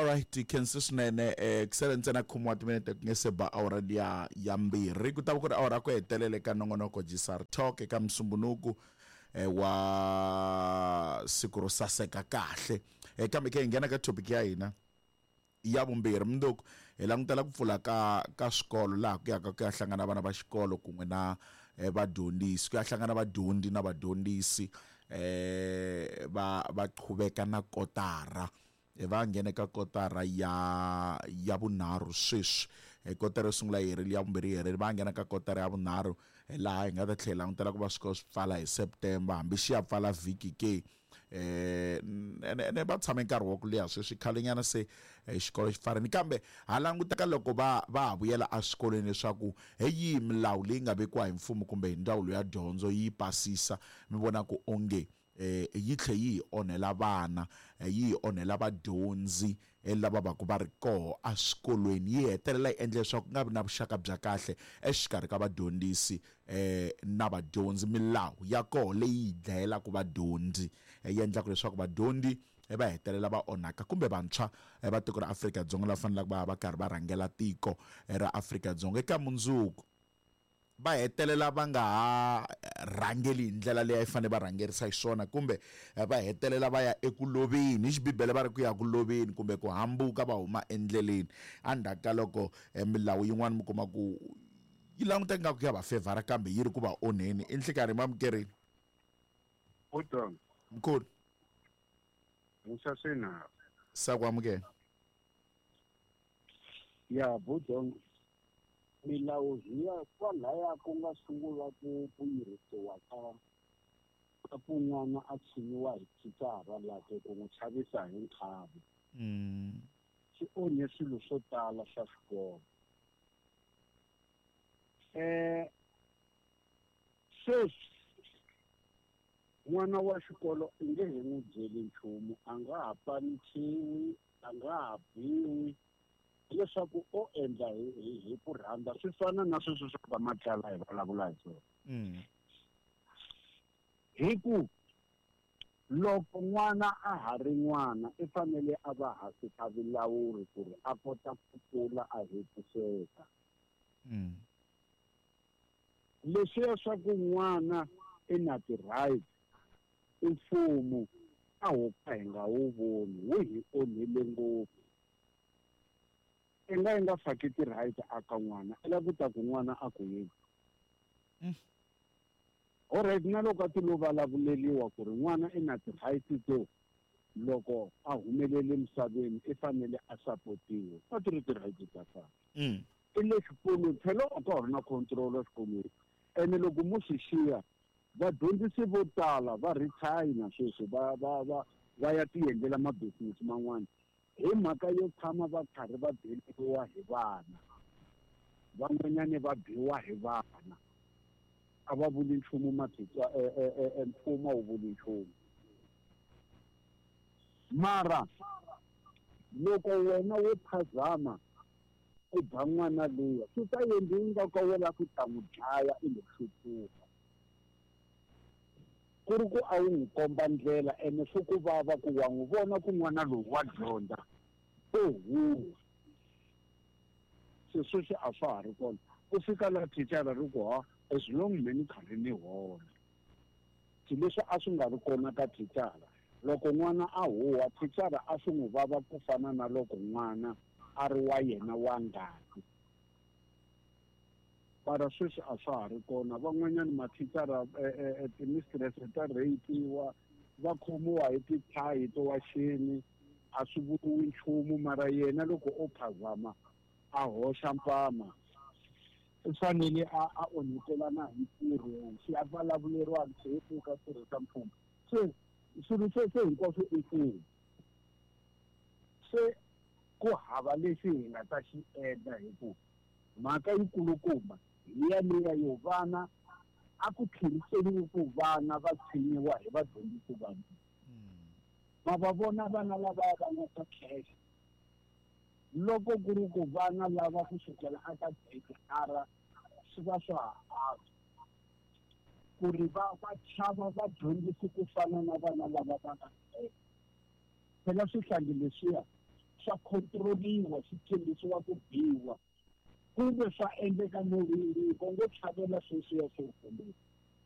Alright, khensi swinene. Ku sele ntsena khume wa timinete ku nge se ba awara liya ya mbirhi, ku ta va ku ri awara ku hetelela eka nongonoko Gsar Talk eka Musumbunuku wa siku ro saseka kahle. Kambe ke hi nghena ka topic ya hina ya vumbirhi. Mundzuku hi langutela ku pfula ka swikolo laha ku yaka ku ya hlangana vana va xikolo kun'we na vadyondzisi, ku ya hlangana vadyondzi na vadyondzisi, va qhuveka na kotara. Va nghene ka kotara ya vunharhu sweswi. Kotara yo sungula yi herile, ya vumbirhi yi herile, va nghena ka kotara ya vunharhu laha hi nga ta tlhela langutela ku va swikolo swi pfala hi September, hambi xi ya pfala vhiki ke. Ene va tshame nkarhi wa ku leha sweswi, khalenyana se xikolo xi pfarini, kambe ha languteka loko va ha vuyela eswikolweni leswaku hi yihi milawu leyi nga vekiwa hi mfumo kumbe hi ndzawulo ya dyondzo yi pasisa, mi vona ku onge yi tlhe yi hi onhela vana, yi hi onhela vadyondzi lava va ku va ri koho eswikolweni, yi hetelela yi endla leswaku ku nga vi na vuxaka bya kahle exikarhi ka vadyondzisi na vadyondzi. Milawu ya koho leyi yi dlayelaka vadyondzi, yi endlaka leswaku vadyondzi va hetelela va onhaka, kumbe vantshwa va tiko ra Afrika-Dzonga lava faneleke va va karhi va rhangela tiko ra Afrika-Dzonga eka mundzuku, va hetelela va nga ha rhangeli hi ndlela leyi a yi fanele va rhangerisa xiswona, kumbe va hetelela va ya eku loveni. Hi xibibele va ri ku ya ku loveni kumbe ku hambuka va huma endleleni. Endzhaku ka loko milawu yin'wana mi kuma ku yi languteka nga ku ya va fevhara, kambe yi ri ku va onheni. I nhlikarhi mamukerini. Udon. Mkhulu. Musa swinharhu. Sa ku amukela. Ya Budon, milawu hi ya kwalaya ku nga sungula ku yirisiwa ka ku n'wana a tshinyiwa hi thicara lake ku n'wi chavisa hi nkhavi. Swi onhe swilo swo tala swa xikolo. Sweswi n'wana wa xikolo i nge he n'wi byeli nchumu, a nga ha panichiwi, a nga ha biwi, leswaku o endla hi ku rhandza. Swi fana na sweswo swa va Matlala hi vulavula hi swona. Hi ku loko n'wana a ha ri n'wana i fanele a va hansi ka vulawuri ku ri a kota ku kula a hetiseka. Leswiya swa ku n'wana i na ti-right, i mfumo a ho ka hi nga wu voni, wu hi onhile ngopfu. I nga yi nga faki ti-right aka n'wana, i lava ku ta ku n'wana a ku yini. Alright, na loko a ti lo vulavuleriwa ku ri n'wana i na ti-right to loko a humelele emisaveni i fanele a sapotiwa, a ti ri ti-right ta kahle. I le xikolweni, phela a ka ha ri na control exikolweni. Ene loko mo swi xiya, vadyondzisi vo tala va retire na sweswi, va ya tiendlela ma-business man'wana hi mhaka yo tshama va karhi va beriwa hi vana. Van'wanyani va biwa hi vana, a va vuli nchumu, mathica, mfumo a wu vuli nchumu. Mara loko wena wo phazama u ba n'wana luya, swi ta endliwa nga ka wena ku ta n'wi dlaya i lo hluphuka. Ku ri ku a wu n'wi komba ndlela, ene swi ku vava ku wa n'wi vona ku n'wana lowu wa dyondza, o huwa. Se sweswi a swa ha ri kona. Ku fika la thicara ri ku, ha, as long me ni karhi ni hola. Leswi a swi nga ri kona ka thicara. Loko n'wana a huwa, thicara a swi n'wi vava ku fana na loko n'wana a ri wa yena wa ngati. Mara sweswi a swa ha ri kona. Van'wanyana mathicara, ti-mistress ta rape-iwa, va khomiwa hi tithayi to waxeni, a swi vuriwi nchumu. Mara yena loko o phazama a hoxa mpama, u fanele a onhetelana hi ntirho, xi a vulavuleriwa se pfuka tirhisa mfumo. Se swilo sweswo hinkwaswo i mfumo. Se ku hava lexi hi nga ta xi endla, hi ku mhaka yikulukumba hi yaleya yo vana a ku tlheriseriwi ku vana va tshinyiwa hi vadyondzisi va vona. Ma va vona vana lava va nga ta cash. Loko ku ri ku vana lava ku sukela aka grade R swi va swa ha antswa ku ri va chava vadyondzisi ku fana na vana lava va nga cash. Phela swihlangi leswiya Swa control-iwa, swi tshembisiwa ku biwa, kumbe swa endleka no ringo ngo tlhavela sweswiya swo kumbe.